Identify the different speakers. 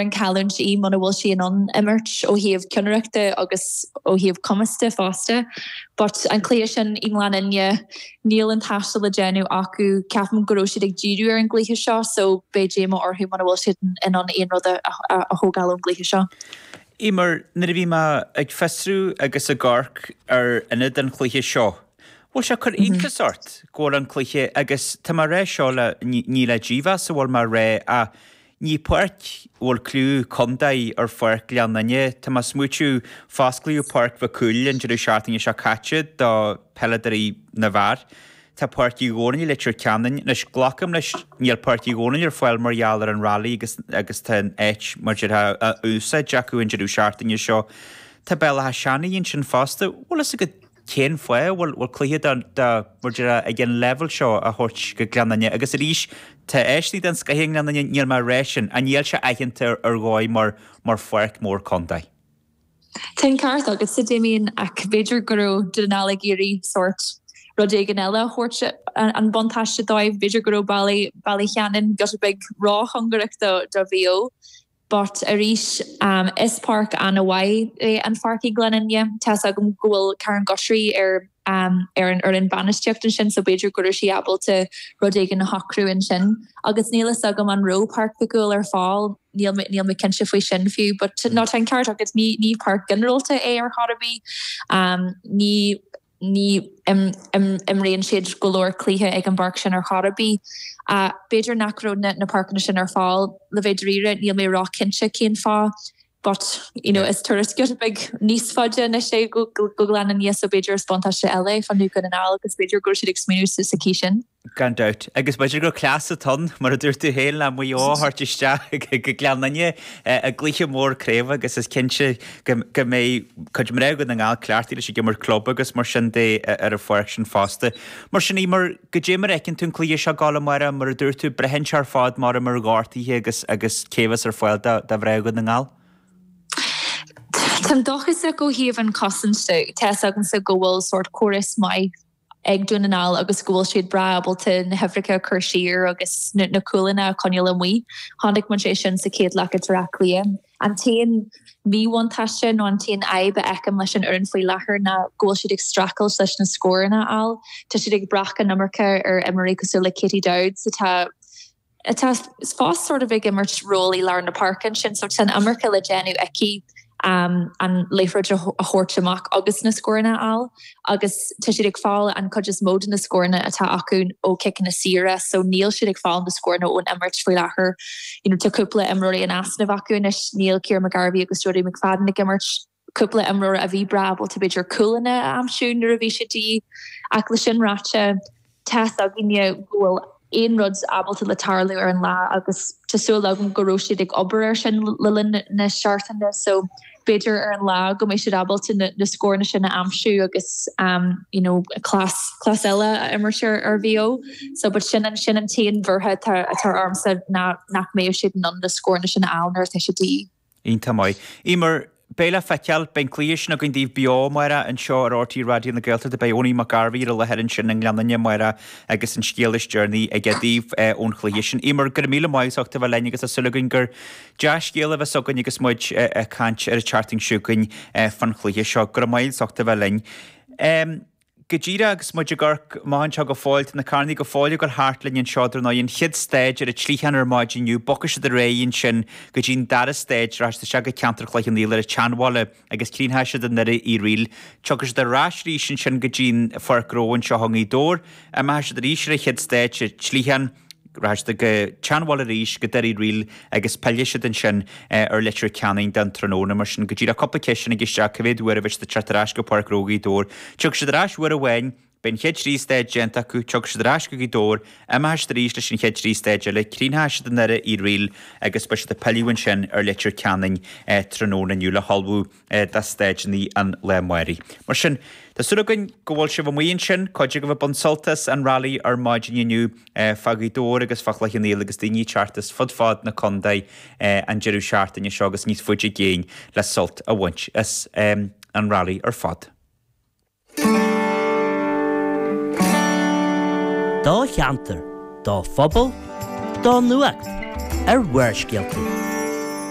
Speaker 1: an cailliúint í muna bhfuil sí in ann imirt ó thaobh ceannaireachta agus ó thaobh cumas de fosta. But an cluiche sin i nGleann Fhinne, níl an taisteal le déanamh acu. Ceapaim go raibh siad ag díriú ar an gcluiche seo so beidh díomá orthu muna bhfuil siad in ann aon rud a thógáil ón gcluiche seo.
Speaker 2: Eimear, nuair a bhí mé ag fiosrú agus ag amharc ar ionad an chluiche seo, bhfuil sé ag cur iontas ort go bhfuil an cluiche, agus tá mé ag rá seo le, ní le dímheas a bhfuil mé ag rá ach Ní páirc a bhfuil clú contae ar Pháirc Ghleann Fhinne. Tá mé ag smaoitiú, fosclaíodh Páirc Mhic Cumhaill an deireadh seachtaine seo caite do peileadóirí na bhfear. Tá Páirc Uí Dhónaill i Leitir Ceanainn. Anois, glacaim leis, níl Páirc Uí Dhónaill ar fáil mar gheall ar an Rally agus agus tá an áit, mar déarfá, á úsáid acu an deireadh seachtaine seo. Tá Béal Átha Seanaidh ansin fosta. Bhfuil fhios agat cén fáth a bhfuil cluiche de, mar déarfá, ag an leibhéal seo á thabhairt go Gleann Fhinne agus arís tá áiseanna den scoith i nGleann Fhinne, níl mé ag rá sin, ach níl sé aitheanta ar dhóigh mar mar pháirc mhór contae.
Speaker 1: Tá an ceart agatsa, Damien, ach b'fhéidir go raibh Dún na nGall ag iarraidh sórt rud éigin eile a thabhairt an buntáiste dóibh, b'fhéidir go raibh Baile Baile Cheanainn giota beag róchóngarach do do Mhaigh Eo. But arís, is páirc an-mhaith é an pháirc i nGleann Fhinne. Tá's agam go bhfuil Karen Guthrie ar ar an fhoireann bainistíocht ansin so b'fhéidir go raibh sí ábalta rud éigin a shocrú ansin. Agus níl fhios agam an raibh Páirc Mhic Cumhaill ar fáil, níl mé níl mé cinnte faoi sin fiú. But no tá an ceart agat, ní ní páirc ghinearálta é ar chor ar bith. Ní Ní imríonn siad go leor cluiche ag an bpáirc sin ar chor ar bith. B'fhéidir nach raibh na páirceanna sin ar fáil, le bheith dáiríre, níl mé ró-chinnte cén fáth but you know is turas giota beag níos faide anois é go Gleann Fhinne so b'fhéidir is buntáiste eile é fá Dhún na nGall agus b'fhéidir go raibh siad ag smaoineamh sa chaoi sin.
Speaker 2: Gan dabht. Agus b'fhéidir gur cleas atá ann, mar a dúirt tú féin, le Maigh Eo a thabhairt isteach go Gleann Fhinne i gcluiche mór craoibhe agus is cinnte go mbeidh cuid mná Dhún na nGall cleachtaithe leis ag imirt club agus mar sin de ar an pháirc sin fosta. Mar sin, Eimear, goidé mar a fheiceann tú an cluiche seo ag gabháil amárach, mar a dúirt tú, braitheann sé ar fad mar ar ghortuithe agus agus cé a bheas ar fáil do mhná Dhún na nGall?
Speaker 1: Táim dóchasach ó thaobh an chosaint de. Tá's agamsa go bhfuil sórt córas maith ag Dún na nGall agus go bhfuil siad breá ábalta na huimhreacha a chur siar agus na cúlanna a choinneáil amuigh. Chonaic muid é sin sa chéad leath i mBaile Átha Cliath. An t-aon mhíbhuntáiste nó an t-aon fhadhb a fheicim leis an fhoireann faoi láthair ná go bhfuil siad ag streachailt leis na scóranna a fháil. Tá siad ag brath an iomarca ar imreoirí cosúil le Katie Dowds atá atá fós sort of ag imirt ról i lár na páirce ansin so tá an iomarca le déanamh aici an liathróid a thabhairt amach agus na scóranna a fháil agus tá siad ag fáil an chuid is mó de na scóranna atá acu ó chiceanna saora so níl siad ag fáil na scóranna ón imirt faoi láthair. You know tá cúpla imreoirí in easnamh acu anois, níl Ciara McGarvey agus Jodie McFadden ag imirt, cúpla imreoir a bhí breá ábalta b'fhéidir cúlanna a aimsiú nuair a bhí siad de dhíth. Ach le sin ráite, tá's againne go bhfuil aon rud ábalta le tarlú ar an lá agus tá súil agam go raibh siad ag obair ar sin le linn na seachtaine so b'fhéidir ar an lá go mbeidh siad ábalta na scóranna sin a aimsiú agus you know cleas cleas eile a imirt ar ar Mhaigh Eo. So but sin an sin an t-aon bhuartha atá atá ormsa ná nach mbeidh siad in ann na scóranna sin a fháil nuair atá siad de dhíth.
Speaker 2: Iontach maith. Eimear, beidh le feiceáil. Beidh an cluiche sin againn daoibh beo amárach anseo ar RTÉ Raidió na Gaeltachta. Beidh Owenie McGarvey ar an láthair ansin i nGleann Fhinne amárach agus an scéal is deireanaí aige daoibh ón chluiche sin. Eimear, go raibh míle maith as ucht a bheith linn agus tá súil againn gur dea-scéal a bheas againn agus muid ag caint ar an tseachtain seo chugainn fán chluiche seo. Go raibh maith as ucht a bheith linn. Go díreach agus muid ag amharc amach anseo go fóill, tá na carrannaí go fóill ag dul thart linn anseo, dar ndóigh, an chéad staid ar an tSligeán ar maidin inniu, bogfaidh siad ar aghaidh ansin go dtí an dara staid, rachaidh siad isteach go ceantar Chloich Cheann Fhaola ar an tSeanbhaile agus críochnóidh siad i nDoire Uí Fhrighil. Tiocfaidh siad ar ais arís ansin go dtí an Pháirc Ghnó anseo i nGaoth Dobhair, imeoidh siad arís ar an chéad staid sa tSligeán, Rachaidh siad go tSeanbhaile arís, go Doire Uí Fhrighil agus pillfidh siad ansin ar Leitir Ceanainn don tráthnóna. Mar sin, go díreach cúpla ceist tháinig isteach, cá mhéad uair a bheidh siad ag teacht ar ais go Páirc Ghnó Ghaoth Dobhair? Tiocfaidh siad ar ais uair amháin, beidh an chéad trí staid déanta acu, tiocfaidh siad ar ais go Gaoth Dobhair, imeoidh siad arís leis an chéad trí staid eile, críochnóidh siad i nDoire Uí Fhrighil agus beidh siad ag pilleadh ansin ar Leitir Ceanainn tráthnóna inniu le hullmhú do staideanna an lae amáirigh. Mar sin, tá súil againn go bhfuil sibh amuigh ansin, cuid agaibh ag baint sult as an Rally ar maidin inniu fá Ghaoth Dobhair agus fá Chloich Cheann Fhaola agus daoine ag teacht as fud fad na contae an deireadh seachtaine seo agus níos faide i gcéin le sult a bhaint as an Rally ar fad.
Speaker 3: Do cheantar, do phobal, do nuacht ar Bharrscéalta.